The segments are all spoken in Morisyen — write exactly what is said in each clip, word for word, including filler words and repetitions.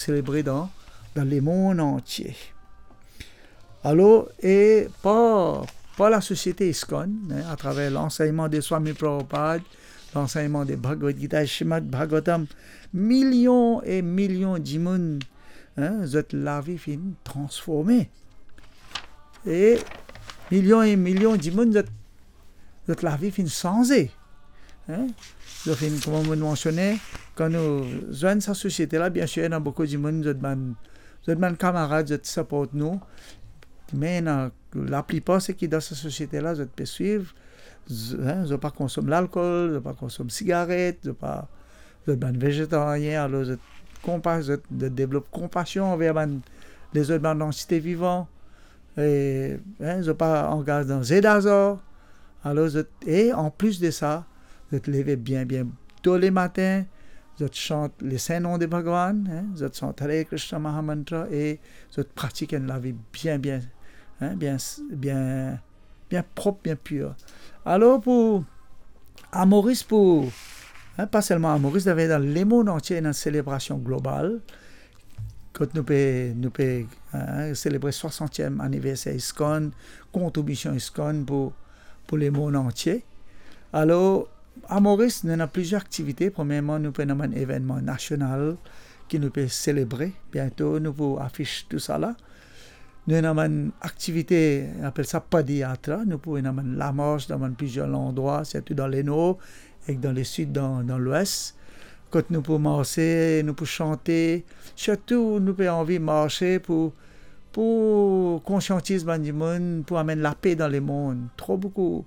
selebre dan, dan lemond antie. Alor, e par, par lasosiete ISKCON, hein, atraver lansegnman de Swami Prabhupada, lansegnman de Bhagavad Gita e Srimad Bhagavatam, milion e milion dimoun, hein, zot lavi finn transforme. E milion e milion dimoun, zot, zot lavi finn sanze. Hein? Zot finn, kouma mo mansione, kan nou zwenn sa sosiete la, biensir, ena boukou dimoun, zot bann, zot bann kamarad, zot siport nou. Me ena, laplipar seki dan sa sosiete la, zot pe swiv, z-, hein, zot pa konsom lalkol, zot pa konsom sigaret, zot pa, zot bann vezetarien, alor zot konpa-, zot, zot devlop konpasion anver bann, lezot bann antite vivan, e, hein, zot pa angaz dan ze dazar. Alor zot, e anplis de sa, zot leve bien, bien to lematin, zot sant le Sin Nom de Bhagwan, hein, zot sant Hare Krishna Mahamantra e zot pratik enn lavi bien, bien, hein, bien, bien, bien prop, bien pir. Alor pou, a Moris pou, hein, pa selman a Moris, dan, dan lemond antie, ena selebrasion global, kot nou pe, nou pe, hein, selebre swasantiem aniverser ISKCON, kontribision ISKCON pou, pou lemond antie. Alor, a Moris, nou ena plizier aktivite. Premierman, nou pe ena bann evennman nasional ki nou pe selebre. Biento, nou pou afis tou sa la. Nou ena bann aktivite, apel sa Padiyatra. Nou pou ena bann lamars dan bann plizier landrwa, sirtou dan Lenor ek dan Lesid, dan, dan Lwes. Kot nou pou marse, nou pou sante. Sirtou, nou pe anvi marse pou, pou konsiantiz bann dimoun, pou amenn lape dan lemond. Tro boukou,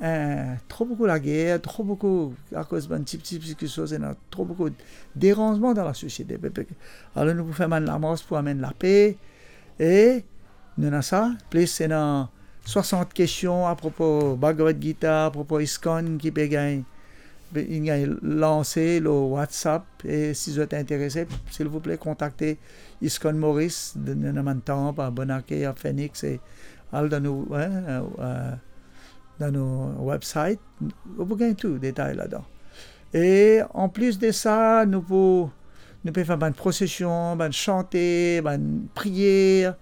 eh, tro boukou lager, tro boukou, akoz bann tipti, tipti kiksoz, ena tro boukou deranzman dan lasosiete. Pe, pe, alor nou pou fer bann lamars pou amenn lape. E nou ena sa, plis ena swasant kestion apropo Bhagavad Gita, apropo ISKCON ki pe gagn, pe, inn gagn lanse lor WhatsApp. E si zot interese, silvouple, kontakte ISKCON Moris, nou ena bann tanp a Bonake, a Phoenix, e al dan nou, hein, euh, euh, dan nou website, ou pou gagn tou detay ladan. E anplis de sa, nou pou, nou pe fer bann prosesion, bann sante, bann priyer,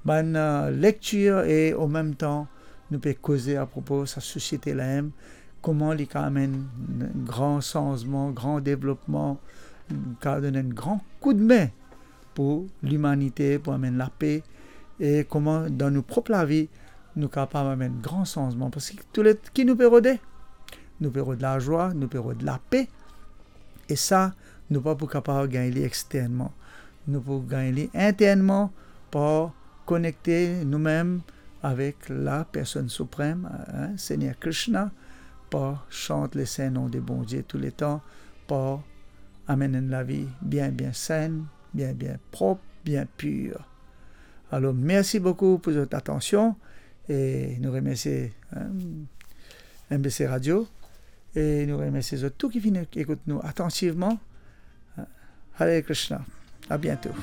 bann, euh, lektir, e an mem tan, nou pe koze apropo sa sosiete la mem, kouma li kapav amenn gran sanzman, gran devlopman, kapav donn enn gran koudme pou limanite, pou amenn lape, e kouma dan nou prop lavi, nou kapav amenn gran sanzman. Parski toule ki nou pe rode, nou pe rod lazwa, nou pe rod lape, e sa, nou pa pou kapav gagn li externman. Nou pou gagn li internman par konekte noumem avek la personn siprem, hein, Segner Krishna, par sant le Sin Nom de Bondie touletan, par amenn enn lavi bien, bien sin, bien, bien prop, bien pir. Alor, mersi boukou pou zot atansion, e nou remersie, hein, M B C Radio, e nou remersie zot tou ki finn ekout nou atantivman. Hare Krishna. A biento.